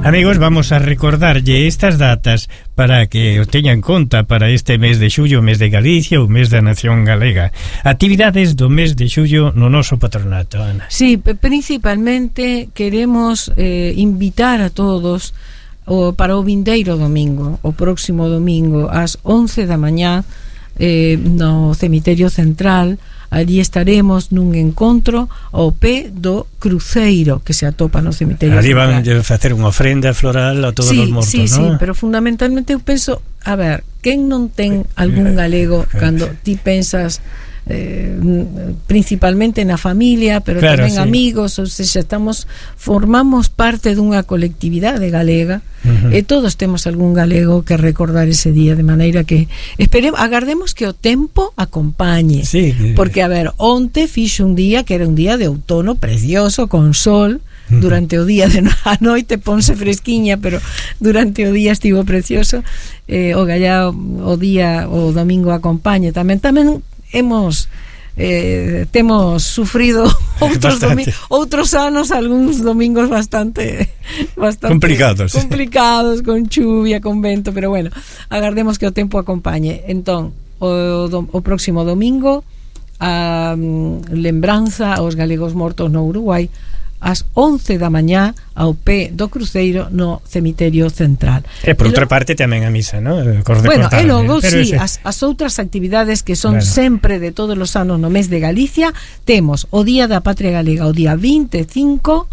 Amigos, vamos a recordarlle estas datas para que o teñan en conta para este mes de xullo, mes de Galicia, o mes da Nación Galega. Actividades do mes de xullo no noso patronato, Ana. Sí, principalmente queremos invitar a todos para o vindeiro domingo, o próximo domingo ás 11 da mañá no Cemiterio Central. Allí estaremos nun encontro ao pé do cruceiro que se atopa no cemiterio. Allí van a facer unha ofrenda floral a todos os mortos, sí, ¿no? Sí, pero fundamentalmente eu penso, a ver, quen non ten algún galego cando ti pensas principalmente na familia, pero claro, tamén amigos, ou seja, formamos parte dunha colectividade galega, e todos temos algún galego que recordar ese día, de maneira que agardemos que o tempo acompañe, porque a ver, onte fixo un día que era un día de outono precioso, con sol. Durante o día, a noite ponse fresquiña, pero durante o día estivo precioso. O gallá o día, o domingo acompañe tamén temos sufrido outros anos, algúns domingos bastante complicados, con chuvia, con vento, pero bueno, agardemos que o tempo acompañe. Entón, o próximo domingo, a lembranza aos galegos mortos no Uruguai ás 11 da mañá ao pé do cruceiro no Cemiterio Central. E por outra parte tamén a misa, ¿no? Bueno, e logo, sí, as outras actividades que son sempre de todos os anos no mes de Galicia, temos o Día da Patria Galega o día 25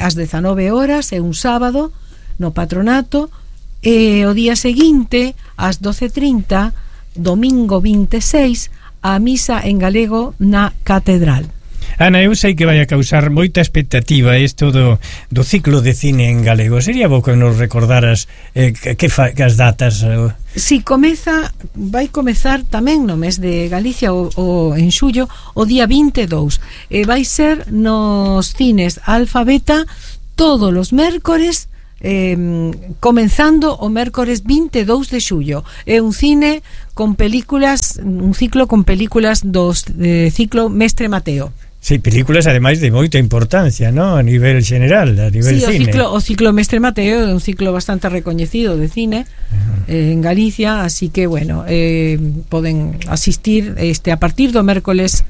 ás 19 horas, é un sábado no patronato, e o día seguinte ás 12:30, domingo 26, a misa en galego na Catedral. Ana, eu sei que vai a causar moita expectativa isto do ciclo de cine en galego. Sería bo que nos recordaras que as datas. Si, vai comezar tamén no mes de Galicia o en xullo, o día 22. Vai ser nos cines Alfa Beta todos os mércores, comenzando o mércores 22 de xullo. É un cine con películas, un ciclo con películas dos ciclo Mestre Mateo. Sí, películas ademais de moita importancia, ¿no? A nivel general, a nivel cine. O ciclo Mestre Mateo é un ciclo bastante recoñecido de cine en Galicia, así que bueno, poden asistir a partir do mércores